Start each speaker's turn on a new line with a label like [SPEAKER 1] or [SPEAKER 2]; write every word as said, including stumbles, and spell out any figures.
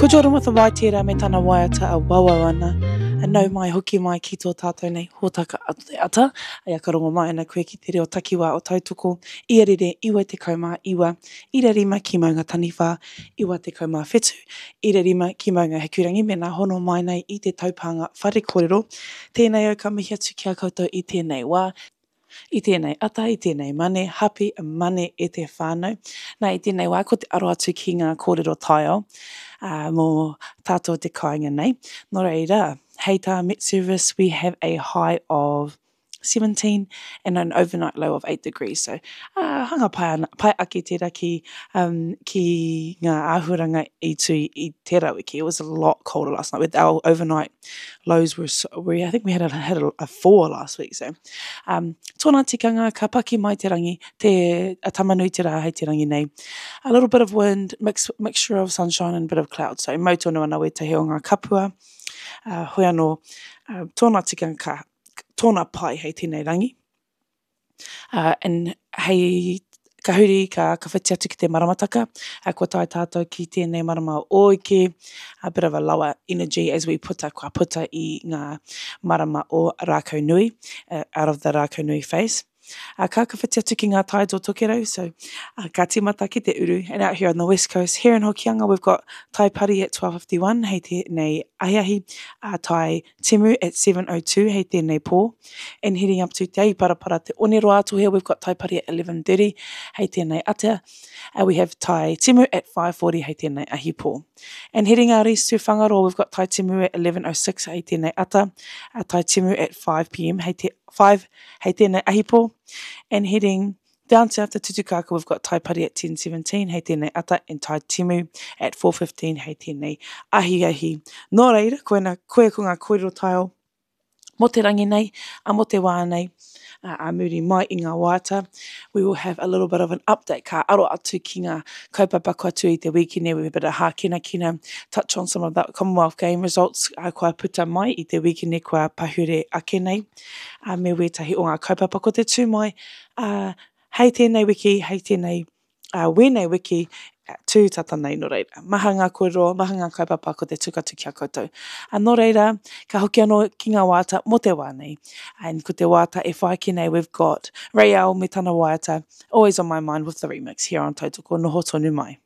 [SPEAKER 1] Ko Jordan with a Y tērā me tana waiata a wauau ana. A nau mai hoki mai ki tō tātou nei hōtaka a te ata. Ai ka rongo mai ana koe ki te reo takiwā o Tautoko, ia rere iwa tekau mā iwa, ira rima ki Maunga Taniwha, iwa tekau mā whetu, ira rima ki Maunga Hikurangi, mēnā hono mai nei i te taupānga whare kōrero. Tēnei au ka mihi atu ki a koutou i tēnei wā, i tēnei ata, i tēnei mane, hapi mane e te whānau. Nā, i tēnei wā, ko te aro atu ki ngā kōrero taiao uh, mō tātou te kāinga nei. Nō reira, hei tā Met Service, we have a high of seventeen and an overnight low of eight degrees. So, uh, hanga pai, ana, pai ake tērā ki, um, ki ngā āhuaranga i tū i tērā wiki. It was a lot colder last night. With our overnight lows were, so, we, I think we had a, had a, a four last week. So, um, tōna tikanga, ka paki mai te rangi, te a tamanui te rā hei te rangi nei. A little bit of wind, mix, mixture of sunshine and a bit of cloud. So, mau tonu ana wētahi o ngā kapua. Uh, hoi anō, uh, tōna tikanga ka, tōna pai hei tēnei rangi. Uh, and hei ka huri, ka, ka whiti atu ki te maramataka, uh, kua tae tātou ki tēnei marama o Ōike, a bit of a lower energy as we puta, kua puta i ngā marama o Rākau Nui, uh, out of the Rākau Nui phase. Uh, ka ka whiti atu ki ngā tides o Tokerau, so uh, ka tīmata ki te uru. And out here on the west coast, here in Hokianga, we've got Tai Pari at twelve fifty-one, hei tēnei ahiahi, uh, Tai Timu at seven oh two, hei tēnei pō. And heading up to Te Iparapara, Te Oneroa Atohea, we've got Tai Pari at eleven thirty, hei tēnei ata. Uh, we have Tai Timu at five forty, hei tēnei ahi pō. And heading out east to Whangaroa, we've got Tai Timu at eleven oh six, hei tēnei ata, uh, Tai Timu at five p m, hei te, five, hei tēnei ahi pō. And heading down south to Tutukaka, we've got Tai Pari at ten seventeen, hei tēnei ata, and Tai Timu at four fifteen, hei tēnei ahi ahi. Nō reira, koina, koe ko ngā kōrero taiao mō te rangi nei, a mō te wā nei, a, a muri mai i ngā waiata, we will have a little bit of an update. Ka aro atu ki ngā kaupapa kua tū i te wiki nei, we have a bit of hākinakina, touch on some of the Commonwealth Game results uh, kua puta mai i te wiki nei kua pahure ake nei, uh, me wētahi o ngā kaupapa ko te tū mai, uh, hei tēnei wiki, hei tēnei uh, wēnei wiki, tū tata nei nō reira. Maha ngā kōrero, maha ngā kaupapa ko te tukatu ki a koutou. A nō reira, ka hoki anō ki ngā waiata mō te wā nei. And ko te waiata e whai ake nei, we've got Rayel me tana waiata, Always on My Mind with the remix here on Tautoko Noho Tonu Mai.